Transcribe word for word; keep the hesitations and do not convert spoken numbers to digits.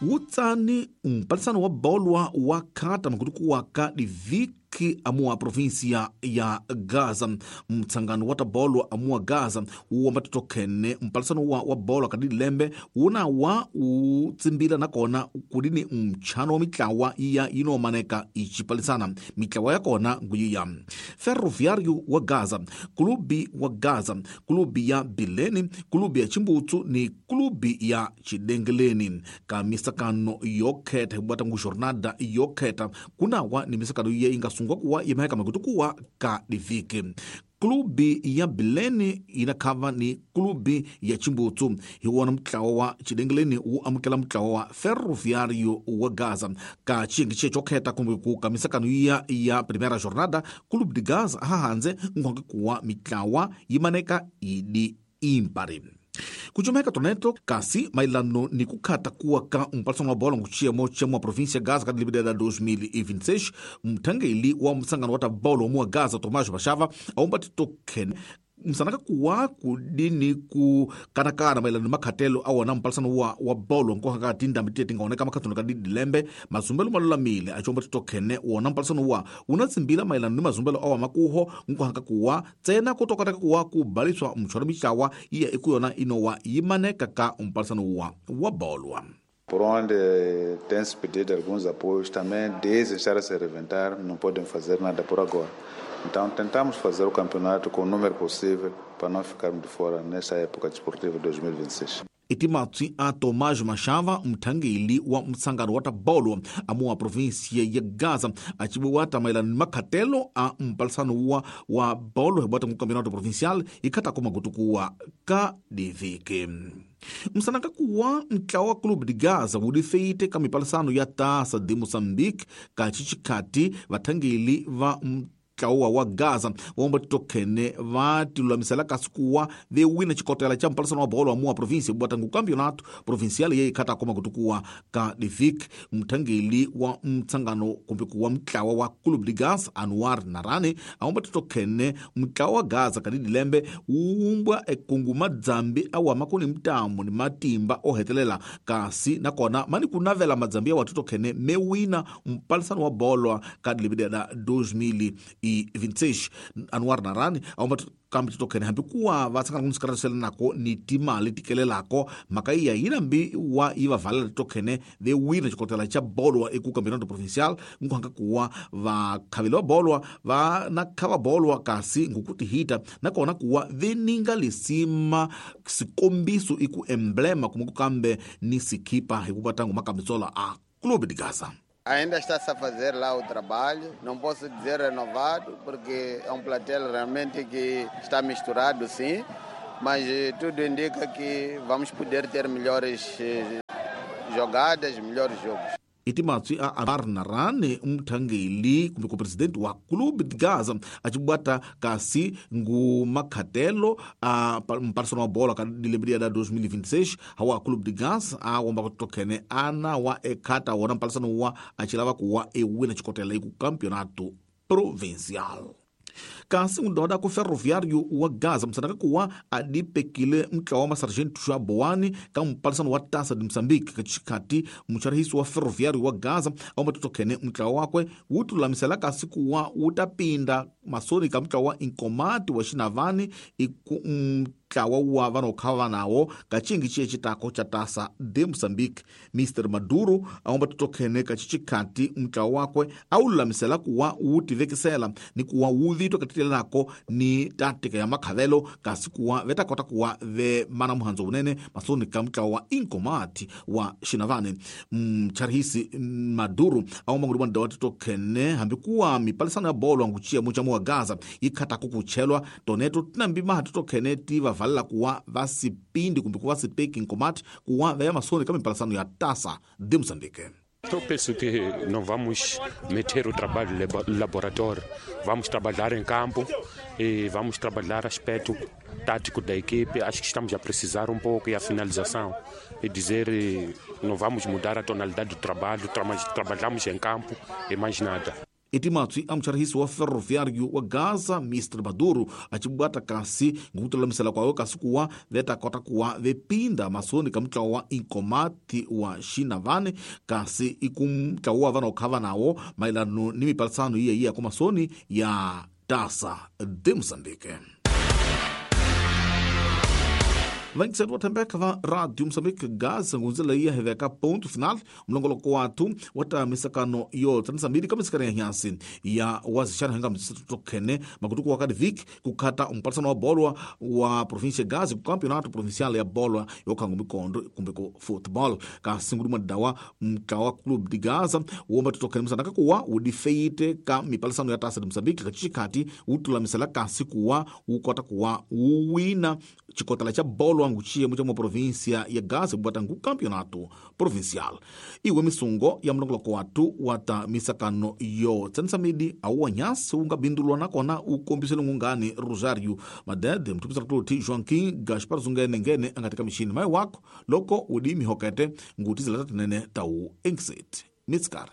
Wutsani mpalisano wa bolwa wa khata makutukuwa ka diviki amuwa provinsia ya Gaza. Mtsangano wa tabolwa amuwa Gaza uwamba totokhene mpalisano wa, wa bolwa kadilembe una wa utsimbila nakona kudini mtchano wa mitlawa iya inomaneka icipalisana. Mitlawa yakona nguyiya Ferroviário wa Gaza, Clube wa Gaza, Clube ya Bilene, Clube ya Chimbutsu ni Clube ya Chidengeleni. Ka misakano yokhetha hibwata ngu jornada yokhetha kunawa ni misakano iya ingasungwa kuwa imaheka makutukuwa ka diviki. Klubi ya Bilene inakhava ni klubi ya Chimbutsu hiwona mutlawa wa Chidengeleni wu amukela mutlawa wa Ferroviário wa Gaza. Ka xiyenge xe xo khetha kumbe ku ka misakano iya ya primeira jornada, Clube de Gaza hahandze nkhonke kuwa mitlawa yi maneka idi impari. Kuchomeka toneto kasi mailano ni kukhata kuwa ka mpalisano wa bola nguchiyemo chemo wa província Gaza ka dilibida dois mil e vinte e seis, mthangeli wa msangano wa tabolo wa Gaza Tomás Machava aumba titokhene msanaka kuwa kudini ku kanakana mailano makhatelo awona mpalisano wa, wa bolo nkoha ka tindambi tiye tingaoneka makhatelo ka didilembe mazumbelo malulamile achomba titokhene wona mpalisano wa unatsimbila mailano ni mazumbelo awa makuho nkoha ka kuwa tsena kutokataka kuwa kubaliswa mtshwaro mitlawa iya ikuyona inowa yimaneka ka mpalisano wa wa bolwa. Por onde tem-se pedido alguns apoios, também desde estar a se reventar, não podem fazer nada por agora. Então tentamos fazer o campeonato com o número possível para não ficarmos de fora nesta época desportiva de dois mil e vinte e seis. Itimatsi a Tomás Machava, mthangeli wa msangano wa tabolo amuwa província ya Gaza, acibuwata mailano makhatelo a mpalisano wa, wa bolo hibwata mu campeonato provincial ikhata kumakutukuwa ka diviki. Msanaka kuwa mtlawa wa Clube de Gaza wudifeite ka mipalisano ya Taça de Moçambique ka chichikhati vathangeli va mtlawa wa Gaza vomba titokhene va tilulamisela kasi kuwa vewina xikotela xa mpalisano wa bolo wa muwa província bwata ngu campeonato provincial ye ikhata koma kutukuwa ka divik. Mthangeli wa mtsangano kumbe kuwa mtlawa wa Clube de Gaza Anwar Narani aomba titokhene mtlawa wa Gaza kadidilembe wuumbwa ekungu madzambi awama kuni mtamu ni matimba ohetelela kasi nakona mani kunavela madzambi awa titokhene mewina mpalisano wa bolo ka dilibida dois mil e vinte e seis. Anwar Narani aomba kambe titokhene hambi kuwa va tsangana kunisikarasela nako ni timali tikelelako mhaka iya yinambi wa yi va valela titokhene ve wina xikotela xa bolwa eku campeonato provincial nkuhanga kuwa vakhaveli va bolwa va na khava bolwa kasi ngukutihita nakona kuwa veninga lisima sikombiso iku emblema kumbe kukambe ni sikhipa hikuva tangu makambitsola a Clube de Gaza. Ainda está-se a fazer lá o trabalho, não posso dizer renovado, porque é um plantel realmente que está misturado, sim, mas tudo indica que vamos poder ter melhores jogadas, melhores jogos. Itimatsi a Anwar Narani mthangeli kumbe ku presidente wa Clube de Gaza acibwata kasi ngu makhatelo a mpalisano wa bola ka dilembe da dois mil e vinte e seis hawa Clube de Gaza a womba kutokhene ana wa ekhata wona mpalisano wa acilava kuwa ewina xikotela iku campeonato provincial. Kasi ndoda ku Ferroviário wa Gaza msanaka kuwa adipekile mtlawa wa sargento wa Boani ka mpalisano wa Taça de Moçambique kachikhati mcharihisi wa Ferroviário wa Gaza aomba totokhene mtlawa wakwe wutulamisela kasi kuwa wutapinda masoni ka mtlawa wa Inkomati wa Xinavani iku mtlawa wa vanokhava nawo kachingi chiye chitako cha Taça de Moçambique. Mister Maduro aomba totokhene kachichikhati mtlawa wakwe aululamisela kuwa wutivekisela ni kuwa wuvitwa katitelelako ni tática ya makhavelo kasi kuwa vetakota kuwa ve mana muhandzo wunene masoni ka mtlawa wa Inkomati wa Xinavani. Mcharihisi Maduro aomba ngulibwa ndawa titokhene hambi kuwa mipalisano ya bolo anguchiya muchamo wa Gaza ikhatako kuchelwa toneto tinambi maha titokhene ti vavalela kuwa vasipindi kumbe kuwa sipeki Inkomati kuwa veya masoni ka mipalisano ya Taça de Moçambique. Eu penso que não vamos meter o trabalho no laboratório, vamos trabalhar em campo e vamos trabalhar aspecto tático da equipe. Acho que estamos a precisar um pouco e a finalização. E dizer, não vamos mudar a tonalidade do trabalho, trabalhamos em campo e mais nada. Itimatswi a mucharihisi wa Ferroviário wa Gaza mister Maduro acibwata kasi ngukutulamisela kwawe kasi kuwa veta kota kuwa vepinda masoni ka mutlawa wa Inkomati wa Xinavane kasi ikumtlawa wa vana okhava nawo maelano ni mipalisano iya iya kwa masoni ya Taça de Moçambique. Vangiseti wa thembeka va Radio Moçambique Gaza ngunzela iya heveka ponto final mlongoloko watu wa ta misakano yo tsanisa mbili ka misikana ya nyasi ya wazixana hinga mtsitokhene makutuku wa kadivik kukhata umpalisano wa bolwa wa província Gaza ku campeonato provincial ya bolwa yokhango mikondo kumbe ku football kasi nguduma dawa mtlawa club de Gaza womba titokhene msana kakuwa udifeite ka mipalisano ya Taça de Moçambique kachikhati utulamisela kasi kuwa ukota kuwa uwina chikotala cha bolwa nguchiye mucha mwa província ya Gaza bwata ngu campeonato provincial. Iwe misungo ya mlongoloko watu wata misakano yo tsanisa midi au wanyasi ungabindulwa nakona ukombisele ngungani Rosario Madede mtupisa tuti Joaquim Gaspar Zungene ngene angatika mishini mai wako loko udi mihokete ngutizela tatinene tau exit mitskari.